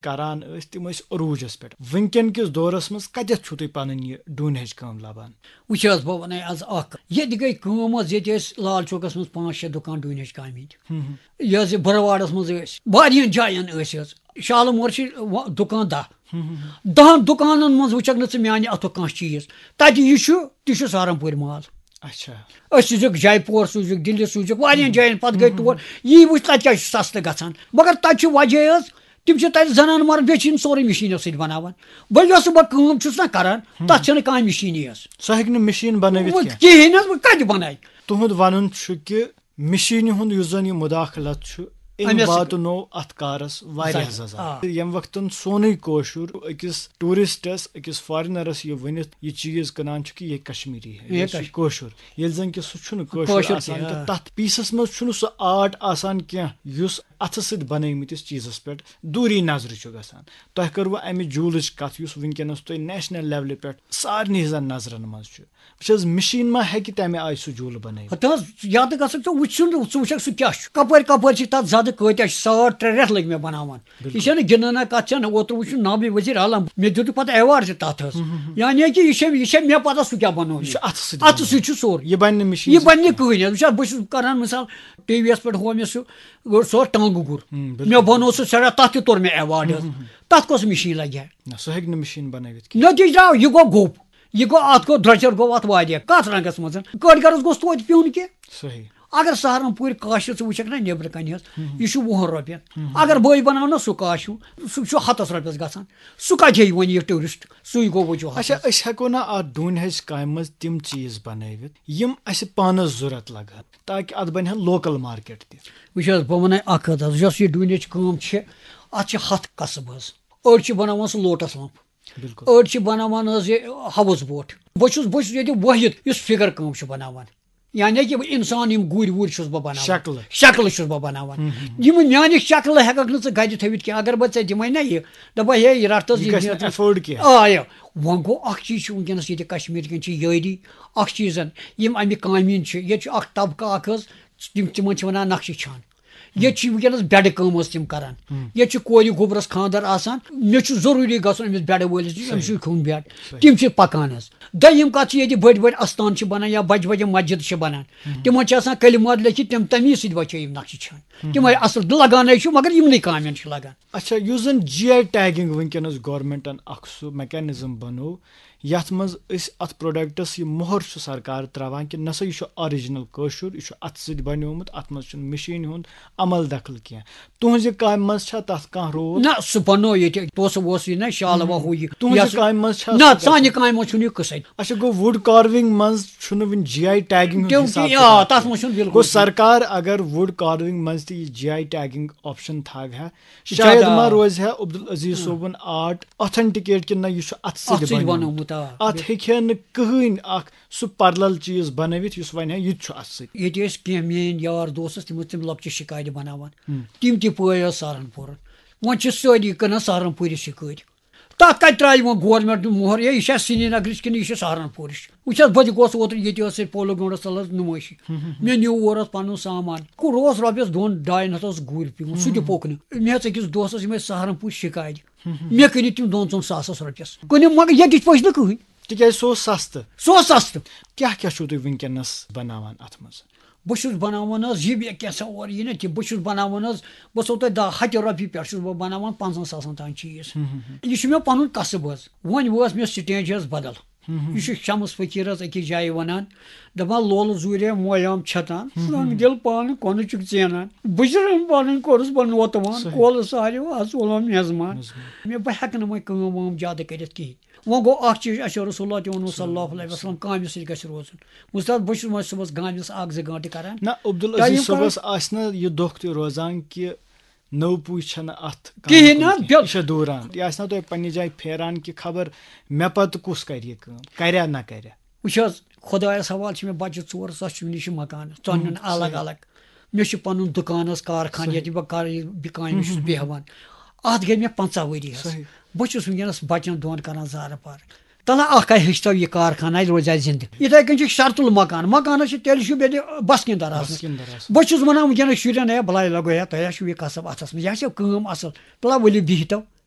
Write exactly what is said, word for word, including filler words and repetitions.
کران ٲسۍ، تِم ٲسۍ عروٗجس پٮ۪ٹھ۔ وٕنکٮ۪ن کِس دورس منٛز کتٮ۪تھ چھُو تُہۍ پنٕنۍ یہِ ڈوٗنۍ ہچہِ کٲم لبان؟ وٕچھ حظ، بہٕ وَنَے آز اَکھ۔ ییٚتہِ گٔے کٲم حظ، ییٚتہِ ٲسۍ لال چوکَس منٛز پانٛژھ شےٚ دُکان ڈوٗنۍ ہچہِ کامہِ ہِنٛدۍ۔ ہُم۔ یہِ حظ یہِ بروارَس منٛز ٲسۍ، واریاہَن جایَن ٲسۍ حظ۔ شالہٕ مور چھِ وَ-، دُکان دَہ۔ ہُم، ہُم، ہُم۔ دَہَن دُکانَن منٛز وٕچھَکھ نہٕ ژٕ میٛانہِ اَتھُک کانٛہہ چیٖز۔ تَتہِ یہِ چھُ، تہِ چھُ سہارنپوٗرۍ مال۔ اچھا۔ أسۍ سوٗزِکھ جے پور، سوٗزِکھ دِلہِ، سوٗزِکھ واریاہَن ہُم۔ جایَن، پَتہٕ گٔے ہُم، ہُم۔ تور۔ یی وٕچھ تَتہِ کیٛاہ چھُ سَستہٕ گژھان۔ مگر تَتہِ چھُ وجہ حظ، تِم چھِ تَتہِ زنان مَرٕد، بیٚیہِ چھِ یِم سورُے مِشیٖنو سۭتۍ بَناوان۔ وۄنۍ یۄس بہٕ کٲم چھُس نہ کَران، ہُم۔ تَتھ چھَنہٕ کانٛہہ مِشیٖنی حظ۔ سُہ ہیٚکہِ نہٕ مِشیٖن بَنٲوِتھ وۄنۍ کینٛہہ۔ کِہیٖنۍ حظ، وۄنۍ کَتہِ بَنایہِ؟ تُہُنٛد وَنُن چھُ کہِ مِشیٖنہِ ہُنٛد یُس زَن یہِ مُداخلت چھُ، أمۍ أمِس واتنوو اَتھ کارَس واریاہ زَزا۔ زَزا۔ آ۔ ییٚمہِ وقتَن سونُے کٲشُر أکِس ٹوٗرِسٹَس، أکِس فارِنَرَس یہِ ؤنِتھ یہِ چیٖز کٕنان چھُ کہِ یہِ کشمیٖری ہے، یہِ یہِ چھُ کش-، کٲشُر۔ ییٚلہِ زَن کہِ سُہ چھُنہٕ کٲشُر کٲشُر آسان تہِ، تہٕ آ۔ تَتھ پیٖسَس منٛز چھُنہٕ سُہ آرٹ آسان کینٛہہ یُس اَتھٕ سۭتۍ بَنٲومٕتِس چیٖزَس پٮ۪ٹھ دوٗری نظرِ چھُ گژھان۔ تۄہہِ کٔروٕ اَمہِ جوٗلٕچ کَتھ یُس وٕنکیٚنَس تۄہہِ نیشنل لیولہِ پٮ۪ٹھ سارنٕے ہٕنٛزَن نظرَن منٛز چھُ؟ وٕچھ حظ، مِشیٖن ما ہیٚکہِ تَمہِ آیہِ سُہ جوٗلہٕ بَنٲوِتھ؟ ہتہٕ حظ، یاد گژھن ژٕ وٕچھُن، ژٕ وٕچھکھ سُہ کیٛاہ چھُ، کَپٲرۍ کَپٲرۍ چھِ تَتھ زیادٕ کٲتیٛاہ چھِ، ساڑ ترٛےٚ رٮ۪تھ لٔگۍ مےٚ بَناوان۔ بِلکُل۔ یہِ چھَنہٕ گِنٛدنہ کَتھ چھَنہٕ، اوترٕ وٕچھُن نابِ وزیر عالم، مےٚ دیُتُکھ پَتہٕ ایوارڈ تہِ تَتھ حظ۔ ہُم، ہُم، ہُم۔ یعنی کہِ یہِ چھےٚ، یہِ چھےٚ مےٚ پَتہ سُہ کیٛاہ بَنوو یہِ چھُ مےٚ۔ اَتھٕ سۭتۍ اَتھٕ بَنومُت۔ سۭتۍ چھُ سورُے۔ یہِ بَنہِ نہٕ مِشیٖن یہِ سۭتۍ بَنہِ نہٕ کِہیٖنۍ۔ کِہیٖنۍ حظ۔ وٕچھ حظ، بہٕ چھُس کَران مِثال، ٹی وی یَس پٮ۪ٹھ ہوو مےٚ سُہ، گوٚو سُہ ٹانٛگہٕ گُر۔ ہُم، بِلکُل۔ مےٚ بَنوو سُہ سٮ۪ٹھاہ، تَتھ تہِ توٚر مےٚ ایوارڈ حظ۔ ہُم، ہُم، ہُم۔ تَتھ کۄس مِشیٖن لَگہِ ہا؟ نہ، سُہ ہیٚکہِ نہٕ مِشیٖن بَنٲوِتھ کِہیٖنۍ۔ نٔتیٖجہٕ درٛاو، یہِ گوٚو گوٚب۔ یہِ گوٚو، اَتھ گوٚو درٛۄجر گوٚو اَتھ واریاہ۔ کَتھ رنٛگَس منٛز؟ کٲرۍ گَرَس گوٚژھ توتہِ پیوٚن کینٛہہ۔ صحیح۔ اگر سہارنپوٗرۍ کاشہِ ژٕ وٕچھکھ نہ نیٚبرٕ کَنہِ حظ، ہُم۔ یہِ چھُ وُہَن رۄپیَن۔ ہُم۔ اگر بہٕ بَناوٕ نہ سُہ کاشیوٗ، سُہ چھُ ہَتَس رۄپیَس گژھان۔ سُہ کَتہِ ہیٚیہِ وۄنۍ یہِ ٹوٗرِسٹ؟ سُے گوٚو وجوٗہات اچھا، حظ۔ أسۍ ہٮ۪کو نہ اَتھ ڈوٗنۍ ہَچہِ کامہِ منٛز تِم چیٖز بَنٲوِتھ، یِم اَسہِ پانَس ضوٚرَتھ لَگہٕ ہن، تاکہِ اَتھ بَنہِ ہا لوکَل مارکیٹ تہِ۔ وٕچھ حظ، بہٕ وَنَے اَکھ کَتھ حظ، یۄس یہِ ڈوٗنۍ ہَچہِ کٲم چھِ، اَتھ چھِ ہَتھ قصب حظ۔ أڑۍ چھِ بَناوان سُہ لوٹَس لَمپ۔ بِلکُل۔ أڑۍ چھِ بَناوان حظ یہِ ہاوُس بوٹ۔ بہٕ چھُس، بہٕ چھُس ییٚتہِ وٲحِد یُس فِگر کٲم چھُ بَناوان۔ یعنی کہِ بہٕ اِنسان، یِم گُرۍ وُرۍ چھُس بہٕ بَناوان۔ شکلہٕ۔ شکلہٕ چھُس بہٕ بَناوان۔ ہُم، ہُم، ہُم۔ یِم میٛانہِ شکلہٕ ہٮ۪کَکھ نہٕ ژٕ گَرِ تھٲوِتھ کینٛہہ۔ اگر بہٕ ژےٚ دِمَے نہ یہِ، دَپَے ہے، یہِ رَٹ تہٕ حظ، یہِ یہِ گژھِ نہٕ afford کینٛہہ۔ آ، یہِ۔ وۄنۍ گوٚو اَکھ چیٖز چھُ وٕنکیٚنَس ییٚتہِ کشمیٖر کٮ۪ن چھِ یٲری۔ اَکھ چیٖزَن، یِم اَمہِ کامہِ ہِنٛدۍ چھِ، ییٚتہِ چھُ اَکھ طبقہٕ اَکھ حظ، تِم، تِمَن چھِ وَنان نقشہٕ چھان۔ ییٚتہِ چھِ وٕنکیٚنَس بٮ۪ڈٕ کٲم حظ تِم کَران۔ ہُم۔ ییٚتہِ چھِ کورِ گوٚبرَس خانٛدر آسان، مےٚ چھُ ضروٗری گژھُن أمِس بٮ۪ڈٕ وٲلِس نِش، أمِس صحیح۔ چھُ کھیوٚن بٮ۪ڈ۔ صحیح۔ تِم چھِ پَکان حظ۔ دوٚیِم کَتھ چھِ، ییٚتہِ بٔڑۍ بٔڑۍ اَستان چھِ بَنان یا بَجہِ بَجہِ مسجِد چھِ بَنان۔ ہُم۔ تِمَن چھِ آسان کلمات لیکھِتھ، تِم تَمی سۭتۍ بَچٲے یِم نقشہٕ چھان۔ ہُم۔ تِمَے اَصٕل لَگانَے چھُ، مگر یِمنٕے کامٮ۪ن چھُ لَگان۔ اچھا، یُس زَن جی آئی ٹیگِنٛگ وٕنکیٚنَس گورنمنٹَن اَکھ سُہ میکینزم بَنوو، یَتھ منٛز أسۍ اَتھ پروڈکٹس یہِ مۄہر چھُ سرکار ترٛاوان کہِ نسا یہِ چھُ original کٲشُر، یہِ چھُ اَتھٕ سۭتۍ بنیومُت، اَتھ منٛز چھُنہٕ مِشیٖنہِ ہُنٛد عمل دخل کینٛہہ۔ تُہٕنٛزِ کامہِ منٛز چھا تَتھ کانٛہہ رول؟ نہ، سُہ بنوو ییٚتہِ، پونٛسہٕ ووسہٕ یہِ نہ، شالہٕ ہُم۔ وہو یہِ۔ تُہٕنٛزِ یہِ ہسا کامہِ منٛز چھا نہ، سُہ سانہِ گژھان؟ کامہِ منٛز چھُنہٕ یہِ قٕصے۔ اچھا، گوٚو wood carving منٛز چھُنہٕ وُنہِ جی آئی ٹیگِنٛگ ہُنٛد تِم حساب تہِ، آ، کتاب تَتھ منٛز چھُنہٕ بِلکُل گوٚو کِہیٖنۍ۔ سرکار اگر wood carving منٛز تہِ یہِ جی آئی ٹیگِنٛگ آپشن تھاوِ ہا، یہِ چھُ شاید ادا ما روزِ ہا عبدالعزیز ہاں۔ صٲبُن آرٹ authenticate کِنہٕ نہ، یہِ چھُ اَتھٕ سۭتۍ اَتھٕ سۭتۍ بنیومُت۔ بنومُت، آ۔ اَتھ ہیٚکہِ ہا نہٕ کٕہٕنۍ اَکھ سُہ parallel چیٖز بنٲوِتھ یُس وَنہِ ہا یہِ تہِ چھُ اَتھٕ سۭتۍ۔ ییٚتہِ ٲسۍ کینٛہہ میٲنۍ یار دوس ٲسۍ، تِم ٲسۍ تِم لۄکچہِ شِکارِ بناوان۔ ہم۔ تِم تہِ پٲے ٲس سہارنپوٗرٕ۔ وۄنۍ چھِ سٲری کٕنان سہارنپوٗرِ شِکٲرۍ۔ تَتھ کَتہِ ترٛایہِ وۄنۍ گورنمنٹ دیُن مۄہر، ہے، یہِ چھا سرینگرٕچ کِنہٕ یہِ چھِ سہارنپوٗرٕچ؟ وٕچھ حظ، بہٕ تہِ گوس اوترٕ ییٚتہِ ٲس ییٚتہِ پولو گراوُنٛڈَس تَل حظ نُمٲیشی۔ ہم، ہم، ہم۔ مےٚ نیوٗ اور حظ پَنُن سامان۔ کوٚر اوس رۄپیَس دۄن ڈاین ہَتھ اوس گُرۍ پیوٚمُت، سُہ تہِ ہم، ہم۔ پوٚک نہٕ۔ مےٚ ہیٚژ أکِس دوستَس، یِم ٲسۍ سہارنپوٗرۍ شِکارِ۔ ہم، ہم۔ مےٚ کٕنہِ تِم دۄن ژۄن ساسَس رۄپیَس۔ کٕنِم، مگر ییٚتِچ پٔچ نہٕ کٕہٕنۍ۔ تِکیٛازِ سُہ اوس سَستہٕ۔ سُہ اوس سَستہٕ۔ کیٛاہ کیٛاہ چھُو تُہۍ وٕنکیٚنَس بَناوان اَتھ منٛز؟ بہٕ چھُس بَناوان حظ، یہِ مےٚ کینٛژھا اورٕ یی نہ تہِ، بہٕ چھُس بَناوان حظ، بہٕ چھُسو تۄہہِ دَہ ہَتہِ رۄپیہِ پٮ۪ٹھ چھُس بہٕ بَناوان پنٛژاہَن ساسَن تام چیٖز۔ ہم، ہم، ہم۔ یہِ چھُ مےٚ پَنُن کَسٕب حظ۔ وۄنۍ وٲژ مےٚ سٹینج حظ بدل۔ ہم، ہم۔ یہِ چھُ شمس فقیٖر حظ أکِس جایہِ وَنان، دَپان، لولہٕ زوٗرے مویام چھَتان، ہم، ہم۔ سنگ دِل پانہٕ کۄنہٕ چھُکھ ژینان۔ بہٕ چھُس پَنٕنۍ کوٚرُس بہٕ نوتہٕ وان، صحیح۔ کولہٕ ساریو آز اوٚلم میزمان۔ میزمان۔ مےٚ، بہٕ ہٮ۪کہٕ نہٕ وۄنۍ کٲم وٲم زیادٕ کٔرِتھ کِہیٖنۍ۔ وۄنۍ گوٚو اَکھ چیٖز، اَسہِ چھُ رسول اللہ تہِ ووٚنمُت صلی اللہ علیہ وسلم، کامہِ سۭتۍ گژھِ روزُن۔ وۄستاد، بہٕ چھُس وۄنۍ صُبحس گامَس اَکھ زٕ گٲنٛٹہٕ کران۔ نہ، عبدالعزیز ٹایم صٲبَس کران۔ آسہِ نہٕ یہِ دۄہ تہِ روزان کہِ نٔو پُے چھَنہٕ اَتھ کامہِ کِہیٖنۍ نہ، کُن کینٛہہ۔ بِل- یہِ چھےٚ دوٗران۔ یہِ آسہِ نہ تۄہہِ پنٛنہِ جایہِ پھیران کہِ خبر مےٚ پَتہٕ کُس کَرِ یہِ کٲم، کَریا نہ کَریا۔ وٕچھ حظ، خۄدایَس حوالہٕ چھِ مےٚ بَچہِ ژور، سۄ چھِ مےٚ نِش مکانَس، ژۄننَن ہُم، الگ صحیح۔ الگ۔ مےٚ چھُ پَنُن دُکان حظ، کارخانہٕ، صحیح۔ ییٚتہِ بہٕ کار-، یہِ، بہٕ کامہِ ہُم، چھُس ہُم، ہُم۔ بیٚہوان۔ اَتھ گٔے مےٚ پنٛژاہ ؤری حظ۔ صحیح۔ بہٕ چھُس وٕنکیٚنَس بَچَن دۄن کَران زارٕ پارٕ۔ تَلہٕ اَکھ ہا ہیٚچھتو یہِ کارخانہٕ، اَتہِ روزِ اَتہِ زِندٕ۔ یِتھَے کٔنۍ چھُ شرطُل مکان۔ مکانَس چھِ تیٚلہِ چھُ بیٚیہِ بَسکِندَر آسان۔ بَسکِندَر آسان۔ بہٕ چھُس وَنان وٕنکیٚنَس شُرٮ۪ن، ہے، بَلاے لَگو ہے، تۄہہِ ہا چھُو یہِ کَسٕب اَتھَس منٛز، یہِ ہا چھِ کٲم اَصٕل۔ تَلہٕ ؤلِو بِہتو۔